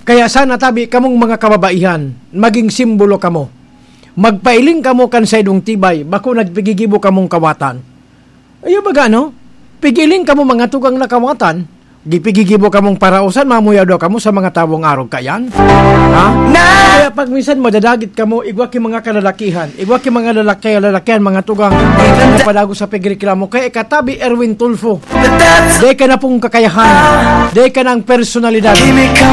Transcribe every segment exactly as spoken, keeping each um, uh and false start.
Kaya sana tabi kamong mga kababaihan, maging simbolo kamo. Magpailing kamo kan saindong tibay, bako nagpigigibo kamong kawatan. Iyo baga, no? Pigiling kamo mga tugang na kawatan, gipigigibo kamong paraosan, mamuyaw daw kamo sa mga tawong arog kayan. Ha? Na Kaya pag minsan madadagit kamo, igwa ki mga kalalakihan, igwa ki mga lalaki, lalakihan, mga tugang, na padago sa pagreklamo. Kaya ikatabi, Erwin Tulfo, Dai ka na pong kakayahan, dai ka na ang personalidad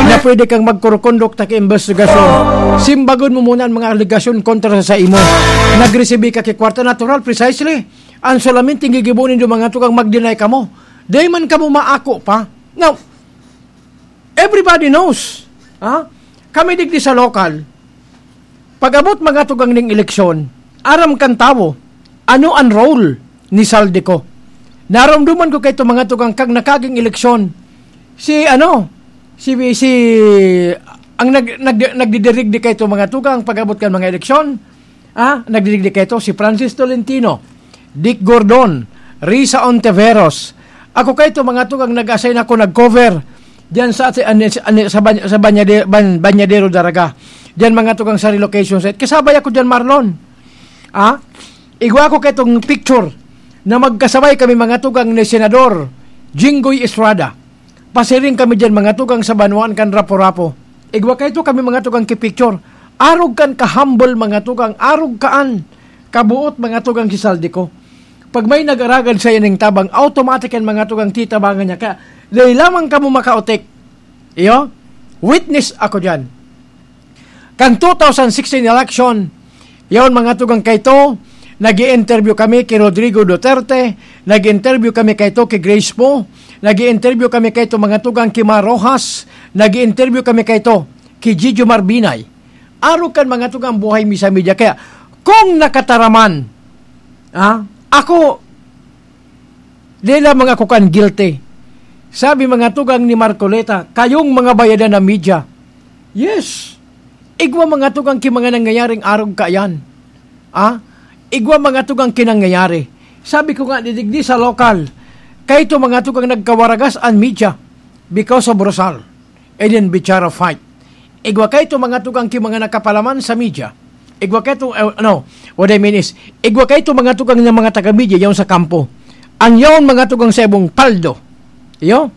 na pwede kang magkurukundok ta ki imbestigasyon. Simbagon mo muna ang mga alegasyon kontra sa imo. Nagresibi ka ki kwarta, natural, precisely. Ang solamente gigibo nindo mga tugang mag-deny kamo. Dai man kamo maako pa. Now, everybody knows. Ha? Kami digdi sa lokal, pag-abot mga tugang ning eleksyon, aram kan tawo, ano an role ni Zaldy Co. Naromdoman ko kaito mga tugang kag nakaging eleksyon. Si ano, si, si, ang nag-, nag-, nagdidirigdi kaito mga tugang pag-abot kan mga eleksyon, ah, nagdidigdi kaito si Francis Tolentino, Dick Gordon, Risa Ontiveros. Ako kaito mga tugang nag-assign ako, nag-cover diyan sa, sa, sa, sa Banya-, sa Banyade-, Ban-, Banyadero Daraga. Diyan mga tugang sa relocation site. Kasabay ako diyan, Marlon. Ah? Igwa ko kaitong picture na magkasabay kami mga tugang ni Senador Jinggoy Estrada. Pasiring kami diyan mga tugang sa banwaan kan Rapu-Rapu. Igwa kaito kami mga tugang ki picture. Arog kan ka-humble mga tugang, arog kaan kabuot mga tugang si Zaldy Co. Pag may nag-aragad sa ining tabang, automatic yan mga tugang titabangan niya. Kaya, dai lamang kamo makaotik. Iyo? Witness ako diyan. Kan two thousand sixteen election, yaon mga tugang kaito, nag-i-interview kami ki Rodrigo Duterte, nag-i-interview kami kaito ki Grace Poe, nag-i-interview kami kaito mga tugang ki Mar Roxas, nag-i-interview kami kaito ki Gigi Marbinay. Arog kan mga tugang buhay mi sa media. Kaya, kung nakataraman, ah, ako, di lamang ako kan guilty. Sabi mga tugang ni Marcoleta, "Kayong mga bayadan na media." Yes. Igwa mga tugang ki mga nangyayaring arog kaiyan. Ah? Igwa mga tugang ki nangyayari. Sabi ko nga, didigdi sa lokal, kaito mga tugang nagkawaragas an media because of Rosal. And then Bichara fight. Igwa kaito mga tugang ki mga nakapalaman sa media. Igwa kaito, eh, ano, what I mean is, igwa kaito mga tugang ng mga taga-media yaon sa kampo. Ang yaon mga tugang sa ibong paldo. Iyo?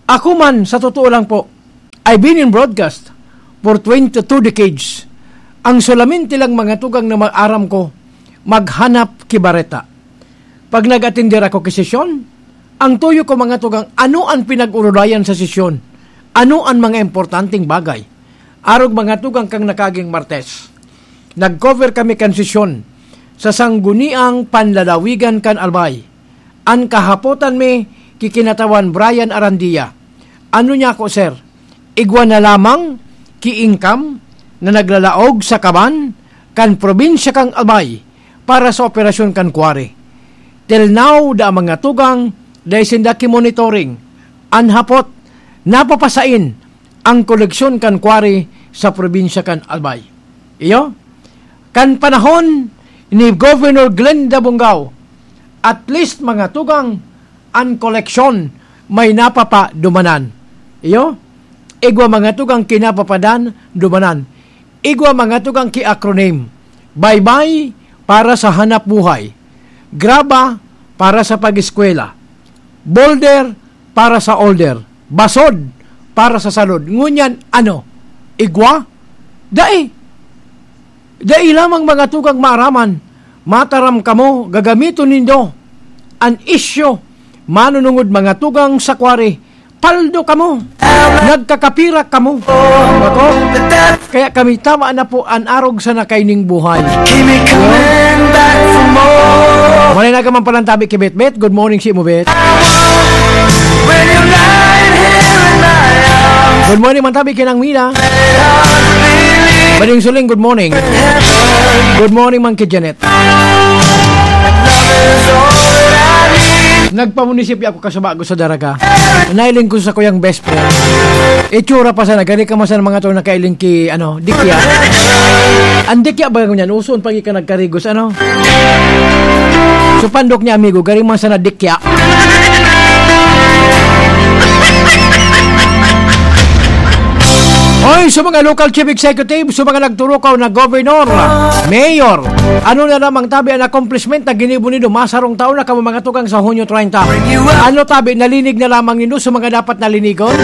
Ako man, sa totoo lang po, I've been in broadcast for twenty-two decades. Ang solamente lang mga tugang na maaram ko, maghanap ki bareta. Pag nag-atender ako ki sesyon, ang tuyo ko mga tugang, ano an pinag-urulayan sa sesyon? Ano an mga importanteng bagay? Arog mga tugang kang nakaging Martes, nag-cover kami kan sesyon sa Sangguniang Panlalawigan kan Albay. An kahapotan mi ki Kinatawan Brian Arandia. Ano niya ako, sir? Igwa na lamang ki income na naglalaog sa kaban kan probinsya kan Albay para sa operasyon kan quarry. Till now, da mga tugang, dai sinda ki monitoring. An hapot, napapasain ang koleksyon kan quarry sa probinsya kan Albay. Iyo? Kan panahon ni Governor Glenda Bongao, at least mga tugang, an koleksyon may napapadumanan. Iyo? Igwa mga tugang kinapapadan, dumanan. Igwa mga tugang ki acronym. Baybay para sa hanap buhay. Graba para sa pag-eskwela. Boulder para sa order. Basod para sa salod. Ngunyan, ano? Igwa? Dai. Dai lamang mga tugang maaraman. Mataram kamo, gagamiton nindo an isyu. Manunungod mga tugang sa quarry. Paldo kamo. Nagkakapira kamo. Ako? Kaya kami tama na po an arog sa nakaining buhay. Manay na ka man palang tabi ki Betbet. Good morning, si mo, Bet. Good morning, man tabi ki Nang Mila. Bading Suling, good morning. Good morning, man ki Janet. Nagpamunisipyo ako kasaba ko sa Daraga. Nailing ko sa kuyang best friend. Itsura pa sana, gani ka man sana mga to nakailing ki, ano, dikya. Ang dikya ba ngunyan? Uson pag ika nagkarigos, ano? So, pandok niya, amigo, gani man sana dikya. Sa mga local chief executive, sa mga nagturukaw na governor, mayor, ano na lamang tabi ang accomplishment na ginibo nindo masarong taon na kamo mga tugang sa Hunyo treinta? Ano tabi, nalinig na lamang nindo sa mga dapat nalinigon?